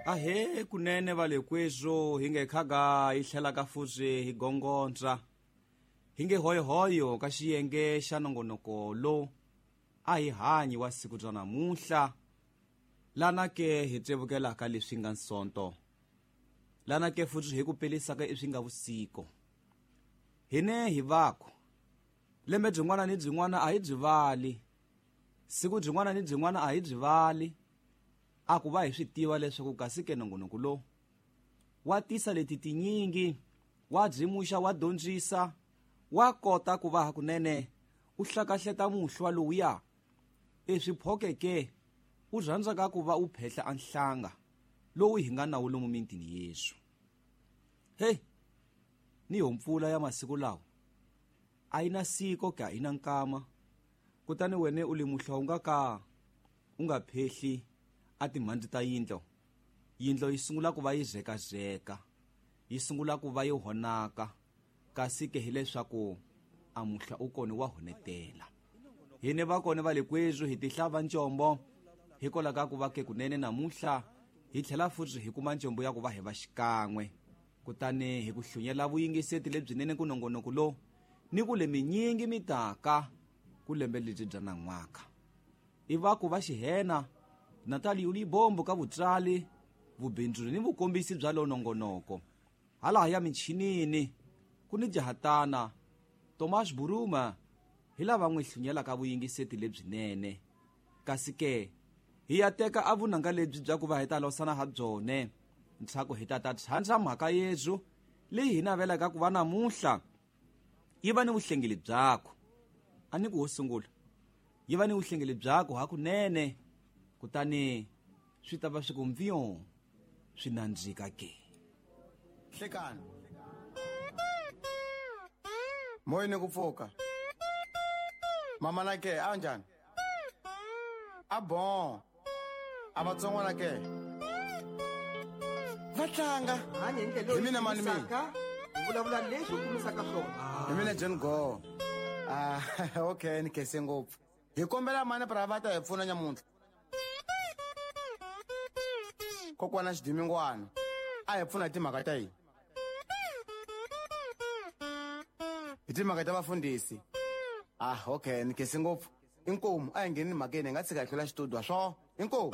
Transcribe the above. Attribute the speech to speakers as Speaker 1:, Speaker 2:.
Speaker 1: Ahe kunene va le kweswo hi nge khaga hi tlhelaka futhi hi gongondza hi nge hoyohoyo ka xiyenge xa nongonoko lo a hi hanyi wa siku bya namuntlha lana ke hi tsevukelaka leswi nga nsonto lana ke futhi hi ku pelisaka eswi nga vusiku hine hi vaku lembe byin'wana ni byin'wana a hi byi vali siku byin'wana ni byin'wana a hi byi vali a ku va hi swi tiva leswaku kasi ke nongonoko lowu wa tisa leti tinyingi wa byimuxa wa dyondzisa wa kota ku va hakunene u hlakahleta muhlwa lowuya eswiphokeke u rhandzaka ku va u phehla anhlanga lowu hi nga nawo lomu mintini yesu. Hey, ni yo mpfula ya masiku lawa a yi na siko ka yi na nkama kutani wene u le muhlwa u nga ka u nga phehli a timhandzi ta yindlo yindlo yi sungula ku va yi zekazeka yi sungula ku va yi honaka kasi ke hileswaku a muhla u kona wa honetela hine va kona va le kwezwi hi tihlava ncombo hikwalaho ka ku va ke kunene namuntlha hi tlhela futhi hi kuma ncombo ya ku va hi va xikan'we kutani hi ku hlunyela vuyingiseti lebyinene ku nongonoko lowu ni ku le minyingi mitaka ku lembe lebyi bya nan'waka i va ku va xihena Natalie Ulibombo ka vutsali vubindzuri ni vukombisi bya lo nongonoko hala ya minchinini ku ni jahatana Thomas Buruma hi lava n'wi hlunyelaka vuyingiseti lebyinene kasi ke hi ya teka a vunanga lebyi bya ku va hi ta losana ha byone ntshaku hi ta ta tshandza mhaka yezu leyi hi navelaka ku va namuntlha yi va ni vuhlengeli byakho a ni ku ho sungula yi va ni vuhlengeli byakho hakunene kutani swi ta va swi ku mpfiyo swi nandzika ke.
Speaker 2: Hlekani moyeni ku pfuka mama na ke a njhani a bon a vatsongwana ke va tlanga
Speaker 3: hanya hi ndlela
Speaker 2: Hi mina mani mina?
Speaker 3: leyi vulavula leswi u kumisaka swona
Speaker 2: hi mina John Go. Ah, okay ni khense ngopfu hi kombela mani pra va ta hi pfuna nyamuntlha kokwana xidimingwana a hi pfuna hi timhaka ta yini hi timhaka ta vafundhisi ah okay ni khense ngopfu inkomu a hi ngheni mhakeni hi nga tshika hi hlula xitudio swo inkomu.